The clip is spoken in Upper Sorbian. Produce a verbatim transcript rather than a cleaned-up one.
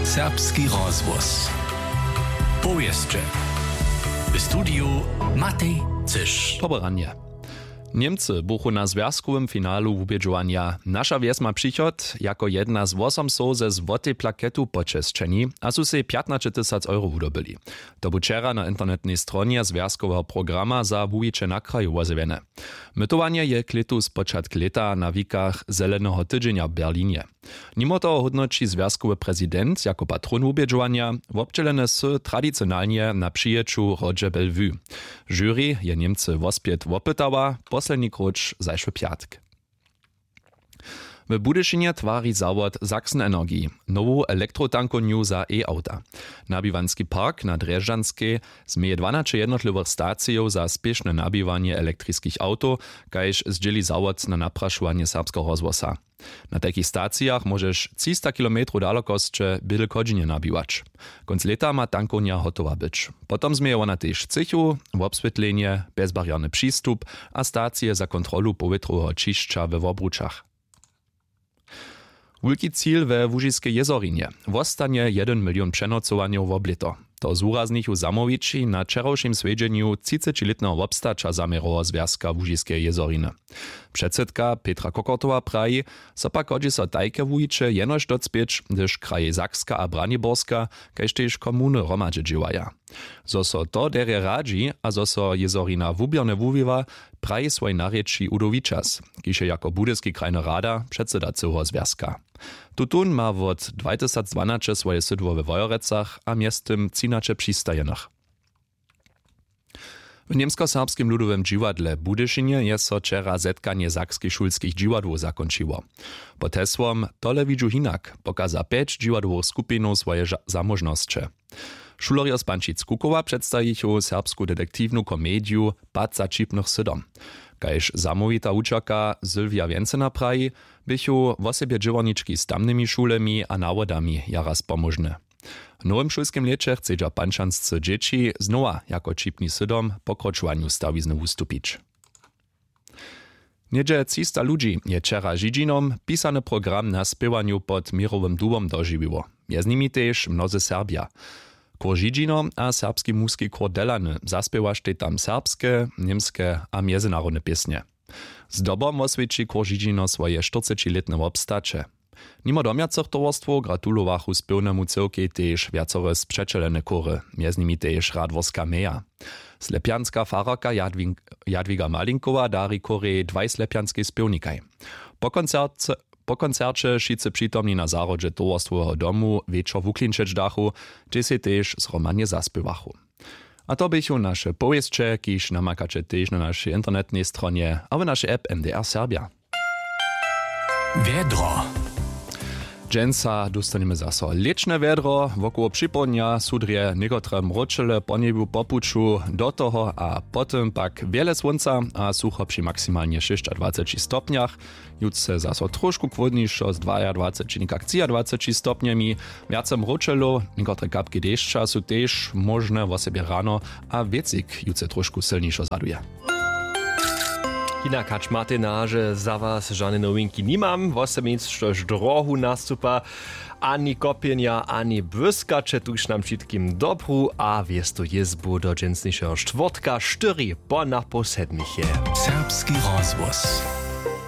Serbski rozhłos. Powěsće. W studiju Matej Cyš. Dobre ranje. Němcy buchu na zwjazkowym finalu wubědźowanja. Naša wjes ma přichod jako jedna z wosom soł ze złotej plaketu počesćeni a su sej pjatnaće tysac euro wudobyli. To bu wčera na internetnej stronje zwjazkoweho programa za wuwiće na kraju wozjewjene. Mytowanje je klětu spočatk lěta na wikach Zeleneho tydźenja w Berlinje. Nimo toho hódnoći zwjazkowy prezident jako patron wubědźowanja, wobdźělene sy tradicionalnje na přijeću w hrodźe Bellevue. Žuri je Němcy wospjet wopytała, posledni króć zašły pjatk. W Budyšinje twari zawod Sachsen Energy nowu elektrotankowniu za e-awta. Nabiwanski park na Drježdźanskej změje dwanaće jednotliwych stacijow za spěšne nabiwanje elektriskich awtow, kaž zdźěli zawod na naprašowanje Serbskeho rozhłosa. Na tajkich stacijach móžeš třista kilometrow dalokosće bydl w Chodźinje nabiwać. Kónc lěta ma tankownja hotowa być. Potom změje wona tež třěchu, wobswětlenje, bjezbarjerny přistup a stacije za kontrolu powětroweho ćišća we Wobručach. Wulki cil we Łužiskej jězorinje wostanje jedyn milion přenocowanjow wob lěto. To zwuraznjechu zamołwići na wčerawšim swjedźenju třicećilětneho wobstaća zaměroweho zwjazka Łužiskeje jězoriny. Předsydka Petra Kokortowa praji, zo pak hodźi so tajke wuwiće jenož docpěć, hdyž krajej Sakska a Braniborska, kaž tež komuny hromadźe dźěłaja. Zo so to derje radźi a zo so jězorina wuběrnje wuwiwa, praji swojej narěči Udo Wičas, kiž je jako budyski krajny rada předsyda cyłeho zwjazka. Tutón ma wot dwatysacdwanaće swoje sydło we Wojerecach a mjeztym třinaće přistajenych. W Němskoserbskim ludowym dźiwadle w Budyšinje je so wčera zetkanje sakskich šulskich dźiwadłow zakónčiło. Pod hesłom „Tole widźu hinak“ pokaza pjeć dźiwadłowych skupinow swoje ža-, zamóžnosće. Šulerjo z Pančic-Kukowa předstajichu serbsku detektiwnu komediju „Pad za ćipnych sydom“. Kaž zamołwita wučerka Sylwia Wjencena praji, běchu wosebje dźěłarnički z tamnymi šulemi a nawodami jara spomóžne. W nowym šulskim lěće chcedźa pančansce dźěći znowa jako ćipni sydom w pokročowanju stawizny wustupić. Něhdźe třista ludźi je wčera Židźinom pisany program na spěwanju pod měrowym dubom dožiwiło. Mjez nimi tež mnozy Serbja. Chór Židźino a serbski muski chór Delany zaspěwaštej tam serbske, němske a mjezynarodne pěsnje. Zdobom woswjeći chór Židźino swoje štyrcećilětne wobstaće. Nimo domjacych towarstwow gratulowachu spěwnemu cyłkej tež wjacore spřećelene chóry, mjez nimi tež Radworska Meja. Slepjanska fararka Jadwin-, Jadwiga Malinkowa dari chórej dwaj slepjanskej spěwnikaj. Po koncerce, po koncerće wšitcy přitomni na zahrodźe towarstwoweho domu wječor wuklinčeć dachu, hdźež sej tež zhromadnje zaspěwachu. A to běchu naše powěsće, kiž namakaće tež na našej internetnej stronje a w našej app M D R Serbja. Wjedro. Dźensa dóstanjemy zaso lěćne wjedro, wokoło připołdnja su drje někotre mróčele po njebju po puću do toho a potom pak wjele słónca a sucho při maksimalnje šěsćadwaceći stopnjach. Jutře zaso trošku chłódnišo z dwajadwaceći někak třiadwaceći stopnjemi. Wjace mróčelow, někotre kapki dešća su tež móžne, wosebje rano, a wětřik jutře trošku sylnišo zhladuje. Hinak hač Martin nahaže, za was žane nowinki nimam. Wosomnjeńcož drohu nastupa, ani kopjenja ani błyskaće, tuž nam wšitkim dobru a wěstu jězbu do dźensnišeho štwórtka štyri po napoł sedmich je. Serbski rozhłos.